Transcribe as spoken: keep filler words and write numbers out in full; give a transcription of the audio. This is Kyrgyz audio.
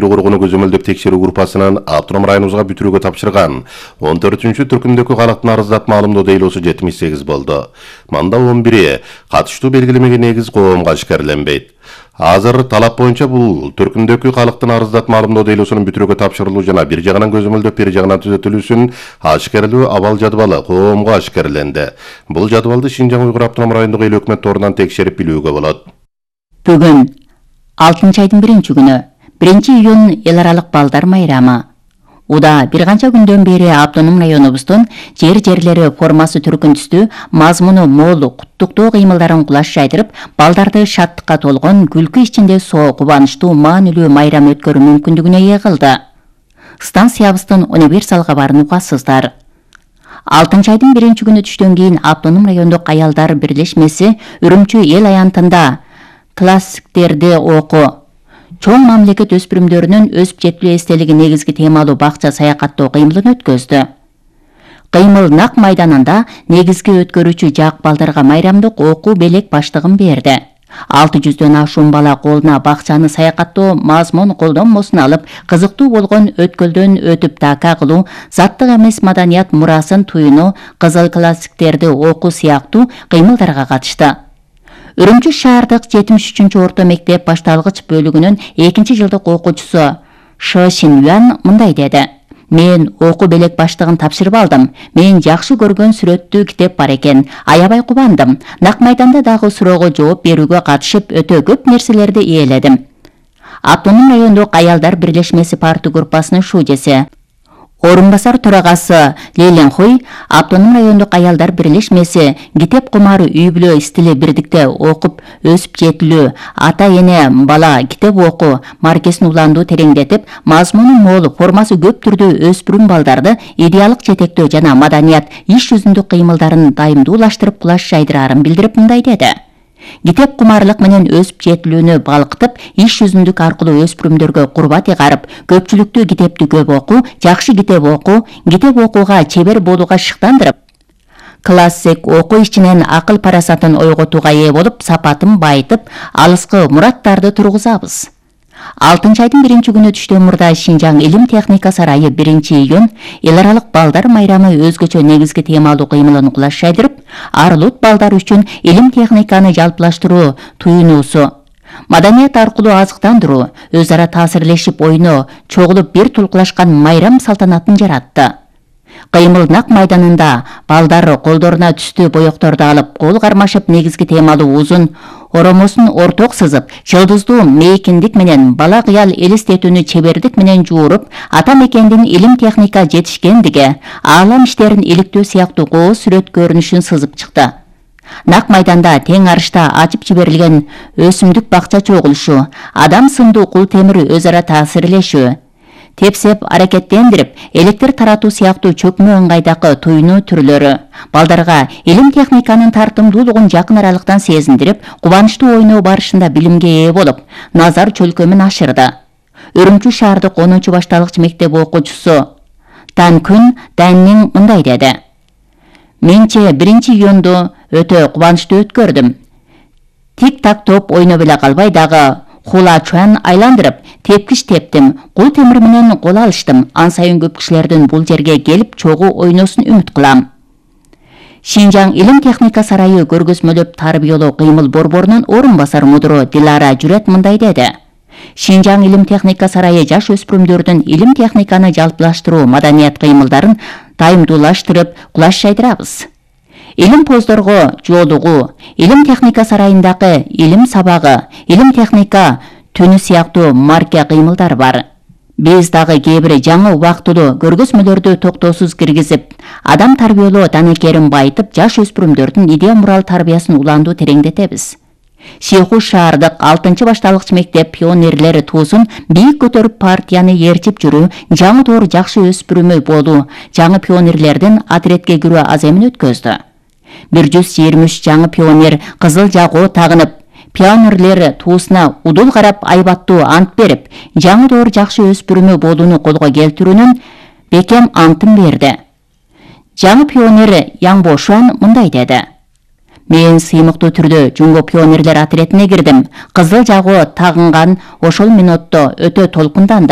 Кургуну көзөмөлдөп текшерүү группасынын автоном районубузга бүтүрүүгө тапшырган он төртүнчү түркүмдөгү калктын арыздатма алымдоо дейлоосу жетимиш сегиз болду. Мында он бiri катыштуу белгилемеге негиз коомго ашкерленбейт. Азыр талап боюнча бул түркүмдөгү калктын арыздатма алымдоо дейлоосунун бүтүрүүгө тапшырылуу жана бир жагынан көзөмөлдөп бир жагынан түзөтүлүүсүн ашкерлөө абал жадыбалы коомго ашкерленди. Бул жадыбалды Шинжаң Уйгур автоном райондук эл өкмөт торунан текшерип билүүгө болот. Бүгүн алтынчы айдын биринчи күнү биринчи июнь эл аралык балдар майрамы. Уда бир канча күндөн бери автоном районубуздун жер-жерлери формасы түркүн түстүү, мазмуну мол куттуктоо кыймылдарын кулаш жайдырып, балдарды шаттыкка толгон, күлкү ичинде соо кубанычтуу маанилүү майрам өткөрүү мүмкүндүгүнө ээ кылды. Станциябыздын универсал кабарын угасыздар. алтынчы айдын биринчи күнү түштөн кийин автоном райондук аялдар бирлешмеси Үрүмчү эл аянтында классиктерди окуу, чоң мамлекет өспүрүмдөрүнүн өсүп жетилүү эстелиги негизги темалуу бакча саякаттоо кыймылын өткөздү. Кыймыл Нак майданында негизги өткөрүүчү жак балдарга майрамдык окуу белек баштыгын берди. алты жүздөн ашуун бала колуна бакчаны саякаттоо мазмун колдонмосун алып, кызыктуу болгон өткөлдөн өтүп така кылуу, заттык эмес маданият мурасын туюнуу, кызыл классиктерди окуу сыяктуу кыймылдарга катышты. Үрүмчү шаардык жетимиш үчүнчү орто мектеп башталгыч бөлүгүнүн экинчи жылдык окуучусу Шы Шинюан мындай деди: "Мен окуу белек баштыгын тапшырып алдым. Мен жакшы көргөн сүрөттүү китеп бар экен. Аябай кубандым. Нак майданда дагы суроого жооп берүүгө катышып, өтө көп нерселерди ээледим." Автоном райондук аялдар бирлешмеси партия группасынын шужеси, орун басар төрагасы Леленхуй автоном райондук аялдар бирлешмеси китеп кумары үй бүлө стили бирдикте окуп өсүп жетилүү, ата эне бала китеп окуу маркесин уландуу тереңдетип, мазмуну мол, формасы көп түрдүү өспүрүм балдарды идеалык жетектөө жана маданият иш жүзүндүк кыймылдарын дайымдуулаштырып кулаш жайдыраарын билдирип мындай деди: "Китеп кумарлык менен өсүп жетилүүнү балкытып, иш жүзүндүк аркылуу өспүрүмдөргө курбат ыгарып, көпчүлүктүү китепти көп окуу, жакшы китеп окуу, китеп окууга чебер болууга шыктандырып, классик окуу ичинен акыл парасатын ойготууга ээ болуп, сапатын байытып, алыскы мураттарды тургузабыз." алтынчы айдын биринчи күнү түштөн мурда Шинжаң илим техника сарайы биринчи июнь эл аралык балдар майрамы өзгөчө негизги темалуу кыймылын кулаш жайдырып, арылут балдар үчүн илим техниканы жалпылаштыруу туюнуусу, маданият аркылуу азыктандыруу, өз ара таасирлешип ойноо, чогулуп бир тулкулашкан майрам салтанатын жаратты. Кыймыл Нак майданында балдар колдоруна түстүү боекторду алып, кол кармашып, негизги темалуу узун оромосун орток сызып, жылдыздуу мейкиндик менен бала кыял элестетүүнү чебердик менен жууруп, ата мекендин илим техника жетишкендиги, аалам иштерин иликтөө сыяктуу кооз сүрөт көрүнүшүн сызып чыкты. Нак майданда тең арышта ачып жиберилген өсүмдүк бакча чогулушу, адам сындуу кул темир өз ара таасирлешүү, тепсеп аракеттендирип, электр таратуу сыяктуу чөкмө ыңгайдагы туюнуу түрлөрү балдарга илим техниканын тартымдуулугун жакын аралыктан сезиндирип, кубанычтуу ойноо барышында билимге ээ болуп, назар чөлкөмүн ашырды. Үрүмчү шаардык онунчу башталгыч мектеп окуучусу Танкүн Даннин мындай деди: "Менче биринчи июнду өтө кубанычтуу өткөрдүм. Тик-так топ ойноп эле калбай, дагы хула чуан айландырып, тепкич тептим, кул темир менен кол алыштым. Ан сайын көп кишилердин бул жерге келип чогуу ойносун үмүт кылам." Шинжаң илим техника сарайы көргөзмөлөп тарбиялоо кыймыл борборунун орун басар мудуру Дилара Жүрөт мындай деди: "Шинжаң илим техника сарайы жаш өспүрүмдөрдүн илим техниканы жалпылаштыруу, маданият кыймылдарын дайымдуулаштырып, кулаш жайдырабыз. Илим поздорго жолугуу, илим техника сарайындагы илим сабагы, илим техника түнү сыяктуу марка кыймылдар бар. Биз дагы кээ бир жаңы убактылуу көргөзмөлөрдү токтоосуз киргизип, адам тарбиялоо данекерин байытып, жаш өспүрүмдөрдүн идея мурал тарбиясын уландуу тереңдетебиз. Шейху шаардык алтынчы башталгыч мектеп пионерлери туусун бийик көтөрүп, партияны ээрчип жүрүү, жаңы доор жакшы өспүрүмү болуу, жаңы пионерлердин отретке кирүү аземин өткөздү. бир жүз жыйырма үч жаңы пионер кызыл жагоо тагынып, пионерлер туусуна удул карап, айбаттуу ант берип, жаңы доор жакшы өспүрүмү болууну колго келтирүүнүн бекем антын берди. Жаңы пионер Яңбо Шуан мындай деди: Мен сыймыктуу түрдө Жумго пионерлер отретине кирдим. Кызыл жагуу тагынган ошол минутто өтө толкундандым.